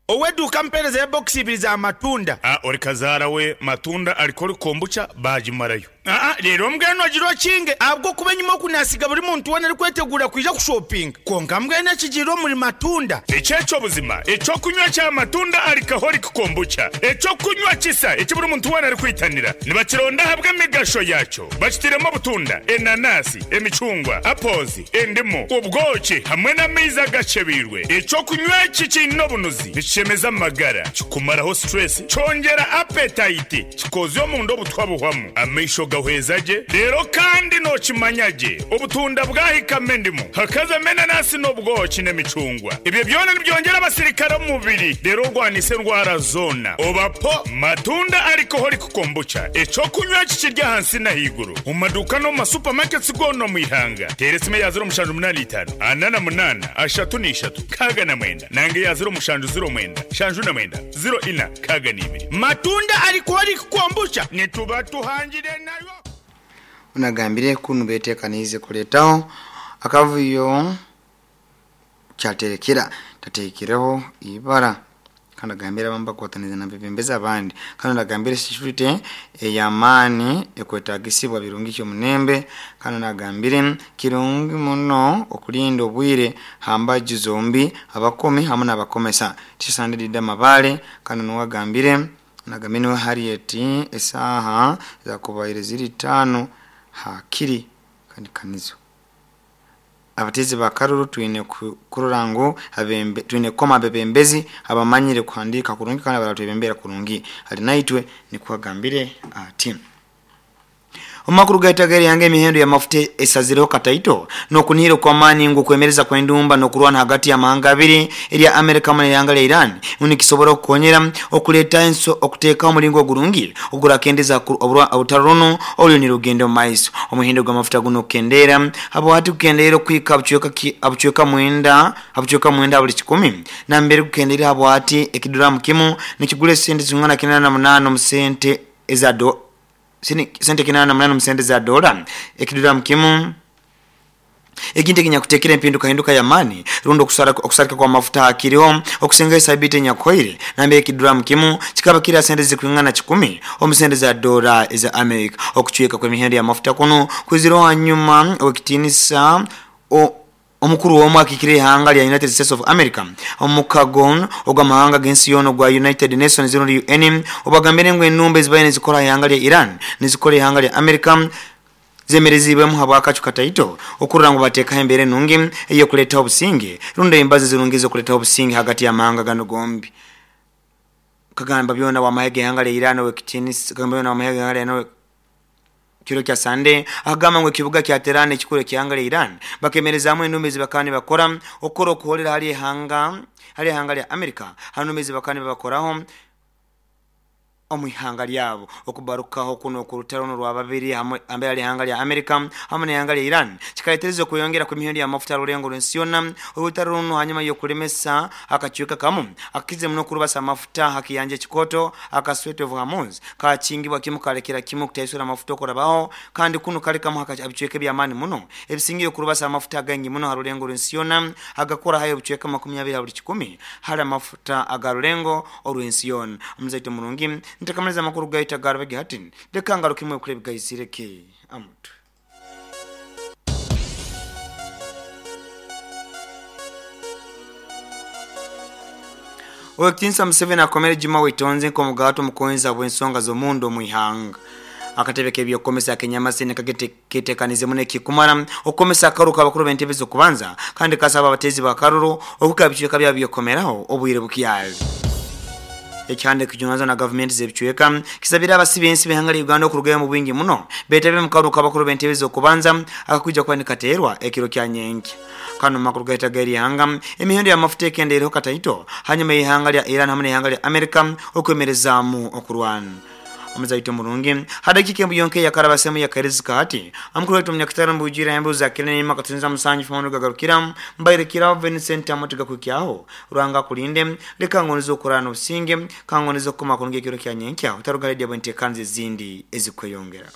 Ow'eduuka mpeerezeyo ebokisi ibiri za matunda. A Ori kazaara we matunda alcoholic kombucha baagimarayo. Aa Reero mbwenu ogire okinge ahabw'okuba enyima oku naasiga buri muntu weena arikweteguura kwija kushopinga. Kwonka mbwenu ekigiire omuri matunda. Eki eky'obuzima eky'okunywa kya matunda alcoholic kombucha, eky'okunywa kisa eki buri muntu weena arikwitanira. Nibakironda ahabw'emigasho yaakyo. Bakitairemu obutunda, enanasi, emicungwa, apples, endimu, obwoki hamwe n'amaizi agakyebeirwe. Eky'okunywa eki kiine obunuzi, nikishemeza amagara, kikumaraho stress, kyongyera appetite, kikozya omunda obutwa buhwamu, amaisho gahweza gye, reero kandi nookimanya gye obutunda bwahikamu endimu, hakazamu enanasi n'obwoki n'emicungwa. Ebyo byona nibyongyera abasirikare omu mubiri reero orwanise endwara zoona. Oba po matunda alcoholic kombucha, eky'okunywa eki kiri ahansi n'ahaiguru omu maduuka n'omu ma supermarkets goona omu ihanga. Teera esimu eya 0785 48 33 69 nanga eya 0709 79 04 62. Matunda alcoholic kombucha nituba tuhangire nayo. Ono agambire ku nibetekaniize kureetaho akavuyo kyaterekera tatekireho ibara kandi agambire abamu bakwatanize nabebembezi abandi kandi agambire security eyamaani ekwetagisibwa Birungi Kyomunembe kandi nagambire kirungi muno okulinda obwire hambaju zombi abakomi hamu nabakomesa Tisande Dida Mabale kandi nuwe agambire nagambire niwe Harriet esaaha zakubaire ziri itaano hakiri kandi kanizo. Abateezi ba karuru twine kurora ngu twine kukoma abebembezi abamanyire kuhandiika kurungi kandi abaratwebembera kurungi. Arinaitwe nikwo agambire ati. Omu makuru gaitu ag'eihanga emihendo y'amafuta esazireho kataito n'okunihira okw'amaani ngu okwemereza kw'endumba n'okurwana hagati y'amahanga abiri erya America hamu n'eihanga lya Iran ngu nikisobora kukonyera okuleeta okuteekaho omulingo ogurungi ogurakendeza orutaro runu oruriyo nirugenda omu maiso. Omuhendo gw'amafuta gunu kukendeera habwahati gukendeire okuhika ha bucweka mwenda ha buli kikumi nambere gukendeire habwahati ekiduramu kimu nikigura esente zingana 88 omu sente eza sente 88 omu sente za doola ekiduramu kimu. Ekintu ekinyakuteekera empindukahinduka y'amaani rundi okusarika kw'amafuta hakiriho okusingaho esabiiti enyakuhoire nambere ekiduramu kimu kikaba kiri ha sente ezikwingana kikumi omu sente za doola eza Amerika. Okucweka kw'emihendo y'amafuta kunu kwizireho hanyuma ow'ekitiinisa Omukuru omwe akiikirira eihanga rya United States of America omu mukago ogw'amahanga g'ensi yoona ogwa United Nations rundi UN obagambire ngu enumba ezibaire nizikora aha ihanga rya Iran nizikora eihanga rya America zemereziibwemu habw'akacu kataito okurora ngu bateekaho embeera enungi ey'okureetaho obusinge rundi embazo ezirungi ez'okureetaho obusinge ahagati y'amahanga ganu gombi. Kagamba byona ow'amahe g'eihanga rya Iran ow'ekitiinisa Kagamba byona ow'amahe g'eihanga rya Iran Kiro kya Sande akagamba ngu ekibuga kya Tehran ekikuru eky'eihanga rya Iran bakemerezaamu enumba ezi bakaba nibakora okukora okuhoorera ahari eihanga ahari eihanga rya America ha numba ezi bakaba nibabakoraho omu ihanga ryabo. Okubarukaho kunu okw'orutaro n'orwababiri hamwe hambere ahari eihanga rya America hamwe n'eihanga rya Iran kikareetereza okweyongera kw'emihendo y'amafuta aha rurengo rw'ensi yoona. Orutaro runu hanyuma y'okuremesa akacweka kamu akakizire muno kurubasa amafuta aha kiyanja ekikooto aka Strait of Hormuz Kaakingibwa kimu kaarekera kimu kutaisura amafuta okurabaho, kandi kunu kali kamu ha bicweka eby'amaani muno ebisingire kurubasa amafuta againgi muno ha rulengo rw'ensi yoona, agakora haihi obucweka 20 ha buli kikumi hali amafuta aga rulengo orw'ensi yoona. Omuzaito murungi, ntakamaliza amakuru gaitu aga Rubegi hati, leka ngarukemu ebikuru ebigaizireke amutwe. Ow'ekitiinisa Museveni akomere Juma Waitonze nk'omugaati omukonzi habw'ensonga z'omunda omu ihanga. Akatebe k'eby'okukomesa ak'enyamasi nikaketekanize muno ekikumara okukomesa akaruru k'abakuru b'entebe z'okubanza kandi kasaba abateezi b'akaruru okuhika aha bicweka byabo by'okukomeraho obwire bukyali. Ekihanda ekijunanizibwa na gavumenti z'ebicweka kisabire abasi b'ensi b'eihanga lya Uganda okurugayo omu bwingi muno beetabe omu karuru k'abakuru b'entebe z'okubanza akakwija kuba nikateerwa ekiro kya nyenkya. Kanu mu makuru gaitu ag'eryihanga, emihendo y'amafuta ekendeireho kataito hanyuma y'eihanga lya Iran hamu n'eihanga lya Amerika okwemerezaamu okurwana. Omuzaito omurungi, ha dakiika embu yonka eyakarabasemu yakairizi hati, omukuru waitu omunyakatara omu bwijwire embu za Kilenium akatunza musanju funu gagarukira, mbaire Kirabo Vincent Amooti gakuhikyaho. Ruhanga akulinde, leka ngondeze okurara n'obusinge, ka ngondeze okukoma kurungi ekiro kya nyenkya, otaruga hali edyabwe enteekaniza ezindi ezikweyongeraho.